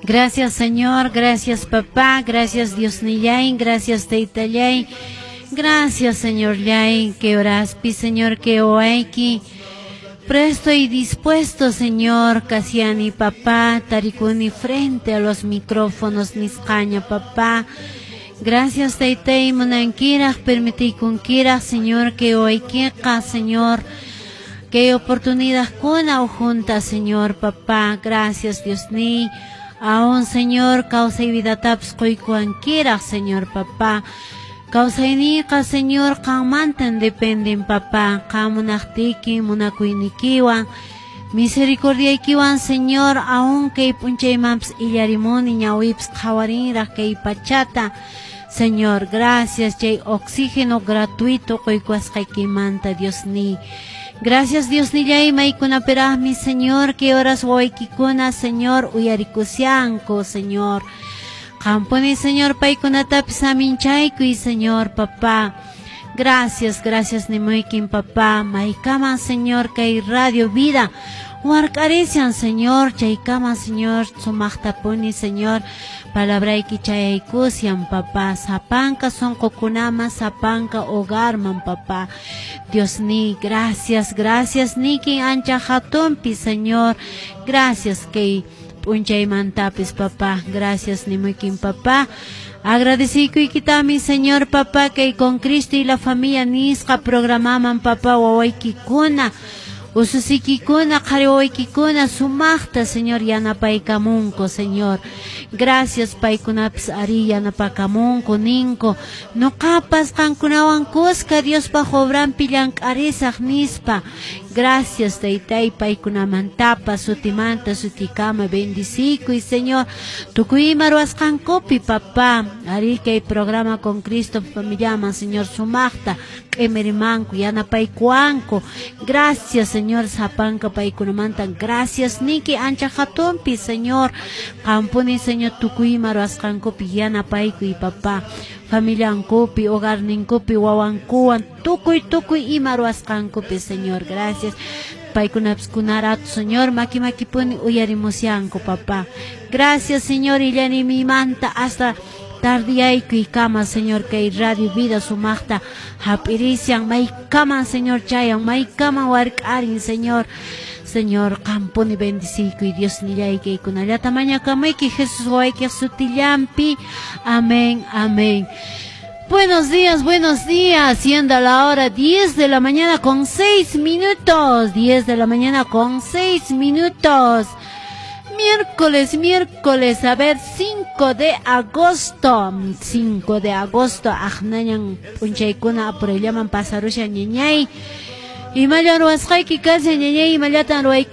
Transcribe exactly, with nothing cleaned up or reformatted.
Gracias, Señor, gracias, papá, gracias, Diosnillay, gracias, Taytallay. Gracias, Señorllay, que horaspi, Señor, que wawayki. Presto y dispuesto, Señor, kashani, papá, tarikuni frente a los micrófonos, nisqaña, papá. Gracias, Taytay, munankiraq, permitikunkiraq, Señor, que wawaykiqa, Señor, que oportunidad kuna junta, Señor, papá. Gracias, Diosníy. Aún, Señor, kawsay vidatapas quykuwankiraq, Señor, papá. Kawsayniyqa, Señor, qanmantan dependen, papá. Qam munaqtiyki, munakuyniykiwan, misericordiaykiwan, Señor, aún kay p'unchaymanpas illarimuni ñawiypas qhawarinraq kay pachata. Señor, gracias, chay oxígeno gratuito quykuwasqaykimanta, Diosníy. Gracias, Diosnillay, maykunapiraqmi, Señor, que horas wawaykikuna, Señor, uyarikushanku, Señor. Qampuni, Señor, paykunatapis saminchaykuy, Señor, papá. Gracias, gracias, nimuykin, papá. Maykaman, Señor, kay Radio Vida. Wark'arishan, Señor, chaykama, Señor, sumaqtapuni, Señor. Palabrayki chayaykushan, papá. Sapanka sunqukunaman, sapanka hogarman, papá. Diosníy, gracias, gracias, niki ancha hatunpi, Señor. Gracias, kay p'unchaymantapis, papá. Gracias, nimuykin, papá. Agradecikuykitami, Señor, papá, que con Cristo y la familia nisqa programaman, papá, wawaykikuna, ususiykikuna, qhari wawaykikuna, sumaqta, Señor, yanapaykamunku, Señor. Gracias, paykunapis ari yanapakamunku, ninku. Nuqapas qankunawan kuska Diospaq obranpi llank'arisaq nispa. Gracias, Taytay, paykunamantapas, sutimanta, sutikama, bendicikuy, Señor. Tukuy ima ruwasqankupi, papá. Ari kay programa con Cristo familiaman, Señor, sumaqta, q'imirimanku, yanapaykuwanku. Gracias, Señor, sapanka paykunamanta. Gracias, niki ancha hatunpi, Señor. Qampuni, Señor, tukuy ima ruwasqankupi yanapaykuy, papá. Familiankupi, hogarninkupi, wawankuwan, tukuy, tukuy ima ruwasqankupi, Señor. Gracias. Paykunapis kunaratu, Señor, maki makipuni uyarimushanku, papá. Gracias, Señor, illarimimanta hasta tardiyaykuykama, Señor, kay Radio Vida sumaqta hap'irishan, maykaman, Señor, chayan, maykaman wark'arin, Señor. Señor, qampuni bendiciykuy, Diosnillay, kaykunallata mañakamuyki, Jesús wawaykiq sutillanpi. Amén, amén. Buenos días, buenos días. Siendo la hora diez de la mañana con seis minutos. diez de la mañana con seis minutos. Miércoles, miércoles, a ver, cinco de agosto. cinco de agosto. Aqnañan p'unchaykuna apurayllaman pasarushan, ñañay. Imallan ruwasqayki kashan, ñañay, imallatan ruwaykus